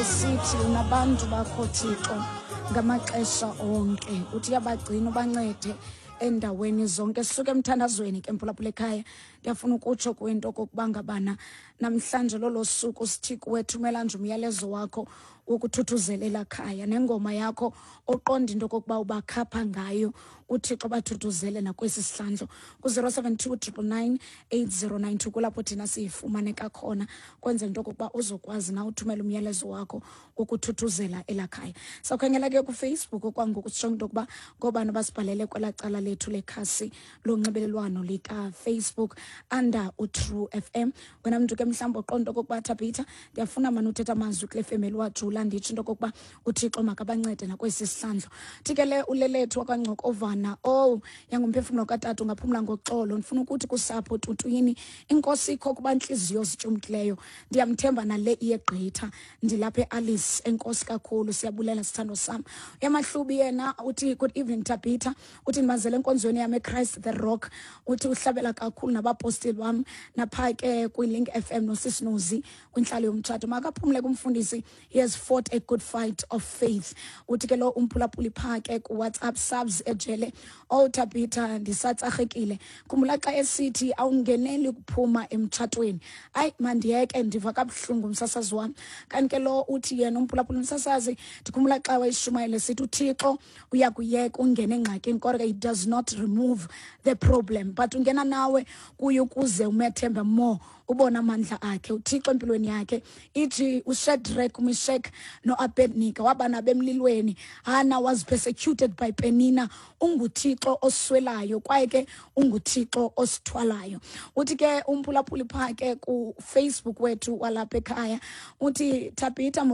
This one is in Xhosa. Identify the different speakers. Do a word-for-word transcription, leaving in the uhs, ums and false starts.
Speaker 1: Esithi unabantu bakho, Thixo, ngamaxesha onke. Uthi uyabagcina, ubancede endaweni zonke. Sisuke emthandazweni ke, mphulaphula ekhaya. Ndiyafuna ukutsho kwinto okokuba ngabana namhlanje lolo suku sithi kuwe, thumela nje umyalezo wakho wokuthuthuzelela khaya nengoma yakho oqonda into okokuba ubakhapha ngayo uThixo, bathuthuzele nakwesi sihlandlo ku-zero seven two triple nine eight zero nine two. Kulapho thina siyifumaneka khona, kwenzela into okokuba uzokwazi na uthumela umyalezo wakho wokuthuthuzela elakhaya. Sawukhangela ke kuFacebook okwangoku, sitsho into yokuba ngoobani abasibhalele kwelaa cala lethu lekhasi lonxibelelwano likaFacebook under uTrue F M. Wena mntu ke mhlawumbi oqonda okokuba, "Thabitha, ndiyafuna mani uthetha amazwi kule femeli wajula, nditsho into okokuba uThixo makabancede nakwesi sihlandlo." Thi ke le uLelethu wakwaNgcokovana, "Oh, yangumphefumlo katata ungaphumla ngoxolo. Ndifuna ukuthi kusapho Tutwini, inkosi ikho kuba ntliziyo zityumkileyo. Ndiyamthemba nale iyegqitha. Ndilapha eAlice. Enkosi kakhulu, siyabulela, sithando sam." Uyamahlubi yena uthi, "Good evening, Tabitha." Uthi, "Ndibazele enkonzweni yam eChrist the Rock." Uthi uhlabela kakhulu nabapostile bam napha ke kwiLink F M nosisinozi kwintlalo yomtshato. Makaphumle kumfundisi, he has fought a good fight of faith. Uthi ke lo umphulaphuli phaa ke kuWhatsApp subs ejele, "Oh Tabitha, ndisatsarhekile. Khumbula xa esithi awungeneli kuphuma emtshatweni. Hayi, mandiyeke, ndiva kabuhlungu, msasazi wam." Kanti ke lo uthi yena umphulaphuli, "Msasazi, ndikhumbula xa wayishumayele sithi uThixo uyakuyeka ungene engxakini, kodwa he does not remove the problem, but ungena nawe kuye ukuze umethembe more, ubone amandla akhe uThixo empilweni yakhe." Ithi uShadrach, uMeshach noAbednego waba nabo emlilweni. Hannah was persecuted by Penina. UnguThixo oswelayo kwaye ke unguThixo osithwalayo. Uthi ke umphulaphuli phaa ke kuFacebook wethu walapha ekhaya, uthi, "Tabitha."